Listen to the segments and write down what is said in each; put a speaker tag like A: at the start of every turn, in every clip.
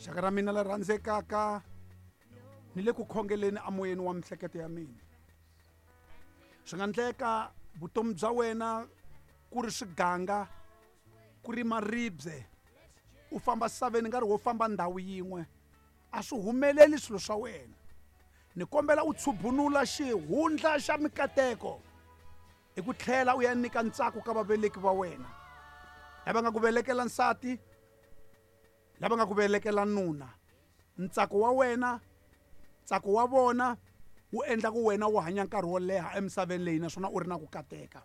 A: Xaka ra mina la rhandzekaka ni le ku khongeleni amoyeni wa mihleketo ya mina. Swi nga ndleka vutomi bya wena ku ri swiganga ku ri maribye u famba saveni nkarhi wo famba ndhawu yin'we a swi humeleli swilo swa wena. Ni kombela u tshubunula xihundla xa mikateko i ku tlhela u ya nyika ntsako ka vaveleki va wena lava nga ku velekela nsati lava nga ku velekela nuna. Ntsako wa wena ntsako wa vona wu endla ku wena u hanya nkarhi wo leha emisaveni leyi naswona u ri na ku kateka.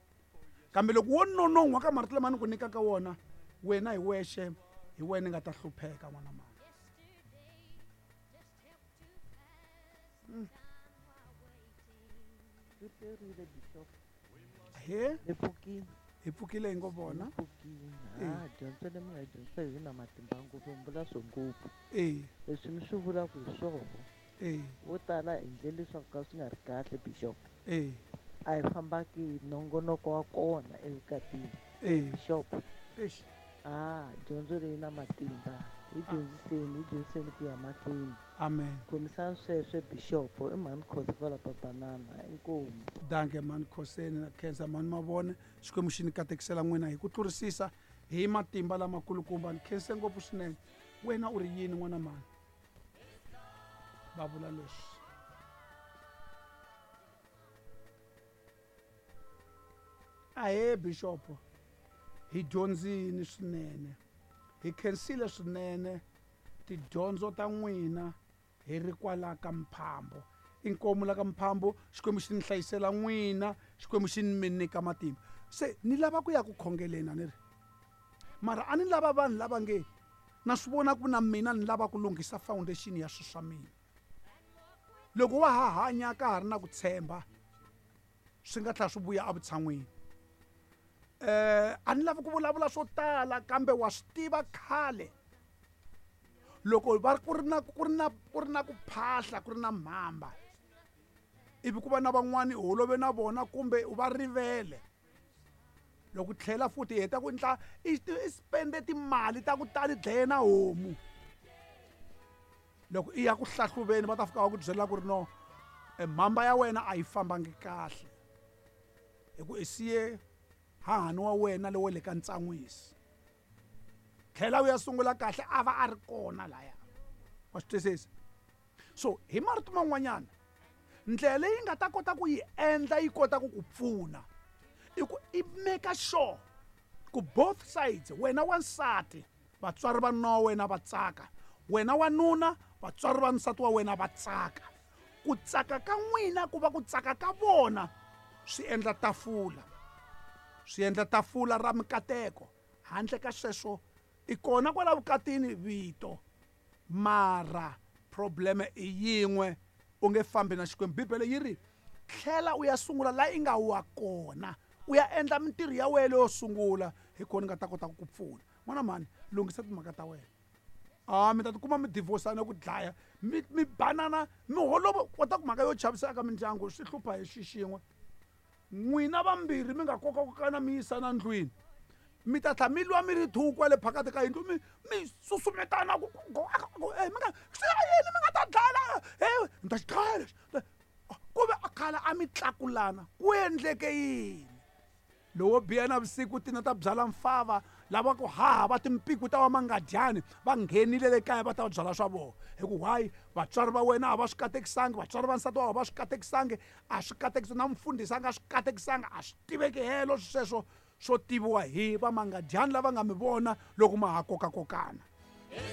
A: Kambe loko wo nonon'hwa ka marito lama ni ku nyikaka wona wena hi wexe hi wena i nga ta hlupheka n'wana mama.
B: Ri perile bishop.
A: He?
B: Hi pfukile.
A: Hi pfukile hi ngo vona.
B: Hi pfukile. Ha dyondzo leyi mi nga yi dyondzisa yi na matimba ngopfu mi vula swo ngopfu. Leswi mi swi vulaka hi swona. Vo tala hi ndlele leswaku ka swi nga ri kahle bishop. A hi fambaki hi nongonoko wa kona evukatini. Bishop. A dyondzo leyi na matimba. Hi dyondziseni, hi dyondziseni ku ya mahlweni.
A: Amen.
B: Khomisani sweswe bishop i mhani Khosi kwala Papanana inkomu.
A: Danke mhani Khoseni na khensa mhani Mavone. Xikwembu xi ni katekisela n'wina hi ku tlurisisa hi matimba lamakulukumba. Ni khense ngopfu swinene. Wena u ri yini n'wana mhani? Va vula leswi. Ahee bishop hi dyondzini swinene. Hi khensile swinene tidyondzo ta n'wina hi ri kwala ka Mphambo. Inkomu la ka Mphambo Xikwembu xi ni hlayisela n'wina Xikwembu xi ni mi nyika matimba. Se ni lava ku ya ku khongeleni a ni ri mara a ni lava vanhu lava nge na swi vona ku na mina ni lava ku lunghisa foundation ya swilo swa mina. Loko wa ha hanya ka ha ri na ku tshemba swi nga tlhela swi vuya evutshan'wini. A ni lavi ku vulavula swo tala kambe wa swi tiva khale loko va ku ri na ku ri na ku ri na ku phahla ku ri na mhamba ivi ku va na van'wani u holove na vona kumbe u va rivele loko tlhela futhi hi heta ku endla i spende timali ta ku tala dlaye na homu loko i ya ku hlahluveni va ta fika va ku byela ku ri no mhamba ya wena a yi fambangi kahle hi ku i siye hahani wa wena lowa le ka ntsan'wisi. Tlhela u ya sungula kahle a va a ri kona laya. Wa swi twisisa? So hi marito man'wanyana ndlela leyi nga ta kota ku yi endla yi kota ku ku pfuna i ku i make sure ku both sides wena wansati vatswari va nuna wa wena va tsaka wena wanuna vatswari va nsati wa wena va tsaka. Ku tsaka ka n'wina ku va ku tsaka ka vona swi endla tafula swi endla tafula ra mikateko. Handle ka sweswo i kona kwala vukatini vito mara probleme i yin'we u nge fambi na Xikwembu. Bibele yi ri tlhela u ya sungula la i nga wa kona u ya endla mintirho ya wena leyo sungula hi kona nga ta kota ku ku pfuna. N'wana mhani lunghisa timhaka ta wena. A mi ta tikuma mi divorce-ana ku dlaya mi mi banana mi holova kota ku mhaka yo chavisa eka mindyangu swi hlupha hi xi xin'we. N'wina vambirhi mi nga kokakokana mi yisana ndlwini mi ta tlhela mi lwa mi ri two kwale phakati ka yindlu mi mi susumetana ku mi nga swi ya yini mi nga ta dlaya he ni ta xi dlaya lexi ku ve a khale a mi tlakulana ku endleke yini? Lowo biha navusiku tina ta byala mfava lava ku haha va timpiku ta va mangadyani va nghenile le kaya va ta byala swa vona. Hi ku why vatswari va wena a va swi katekisangi vatswari va nsati wa a va swi katekisangi a swi katekisi na mufundhisi a nga swi katekisanga a swi tiveki helo sweswo swo tiviwa hi va mangadyani lava nga mi vona loko ma ha kokakokana.